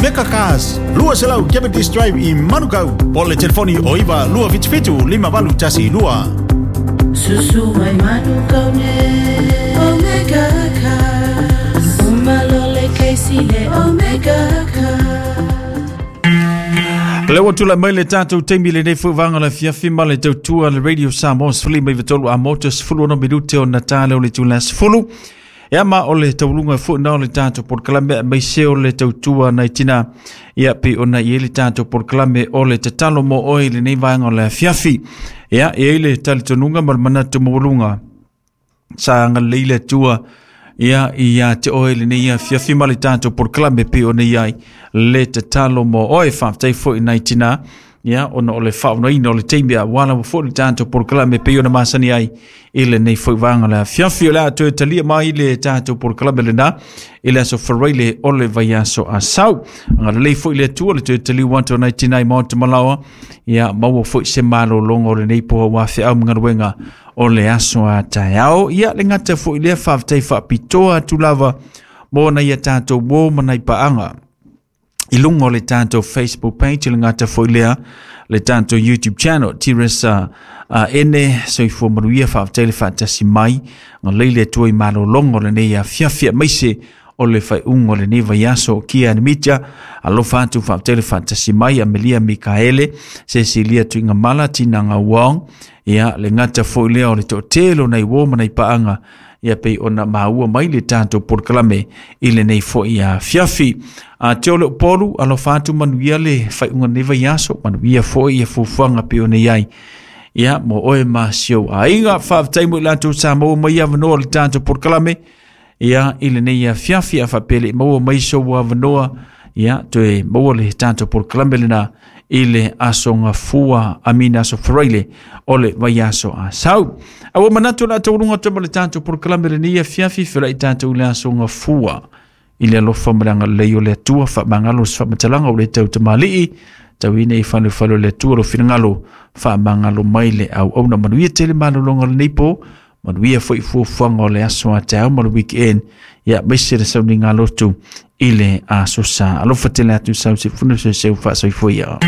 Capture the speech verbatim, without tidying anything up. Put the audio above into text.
Omega Cars, lua selau Cavendish Drive i Manukau. Po le telefoni o iva lua fitu fitu lima valu tasi lua. Susu mai Manukau ne Omega Cars. Umalole keisi le Omega Cars. Le ua tula mai le tātou taimi lenei foi vaega le afiafi ma le tautua le Radio Samoa sefulu lima iva tolu a moto sefulu ono minute o na tā lea o le itula sefulu. Ia ma o le tauluga foi na o le tātou polokalame aemaise o le tautua nai tina ia pei ona i ai le tātou polokalame o le tatalo mo oe i lenei vaega o le afiafi. Ia e ai le talitonuga ma le manatu maualuga sa agalelei le Atua ia ia te oe lenei afiafi ma le tātou polokalame pei ona i ai le tatalo mo oe. Faafetai foi nai tina ia ona o le faaonaina o le taimi aua lava foi le tātou polokalame pei ona masani ai i lenei foi vaega o le afiafi. O le a toe talia mai le tātou polokalame lena i le aso Faraile o le vaiaso asau. Agalelei foi le Atua le toe taliu atu o nai tina i Maota Malaoa ia maua foi se malologa o lenei po aua feau ma galuega o le aso a taeao. Ia le gata foi lea faafetai faapitoa atu lava mo nai a tātou uo ma nai paaga i luga o le tātou Facebook page, le gata foi lea le tātou YouTube channel Tiresa uh, ene soifua manuia. Faafetai le faatasi mai agalelei le Atua i malologa o lenei afiafi aemaise o le faaiuga o lenei vaiaso. Kia Anamita alofa atu faafetai le faatasi mai. Amelia Mikaele, Cecilia Tuigamala, Tina Gauong ia le gata foi lea o le toatele o nai uo ma nai paaga ia pei ona maua mai le tātou polokalame i lenei foi afiafi. A te o le Upolu alofa atu manuia le faaiuga o lenei vaiaso, manuia foi ia fuafuaga pei ona i ai ia mo oe ma si ou aiga. Faafetai mo i latou sa maua mai avanoa o le tātou polokalame ia i lenei afiafi. A faapea le i maua mai sou avanoa ia toe maua le tātou polokalame lena i le aso gafua amina aso Faraile o le vaiaso asau. A ua manatu o le a tauluga atu ma le tātou polokalame lenei afiafi felai tātou i le aso gafua i le alofa ma le agalelei o le Atua. Faamagalo se faamatalaga o le tautamalii tauina i falefale o le Atua lo finagalo faamagalo mai le auauna. Manuia tele malologa o lenei po, manuia foi fuafuaga o le aso a taeao ma le weekend ia aemaise le sauniga lotu i le aso sa. Alofa tele atu sau se funa se seu faasoifua ia.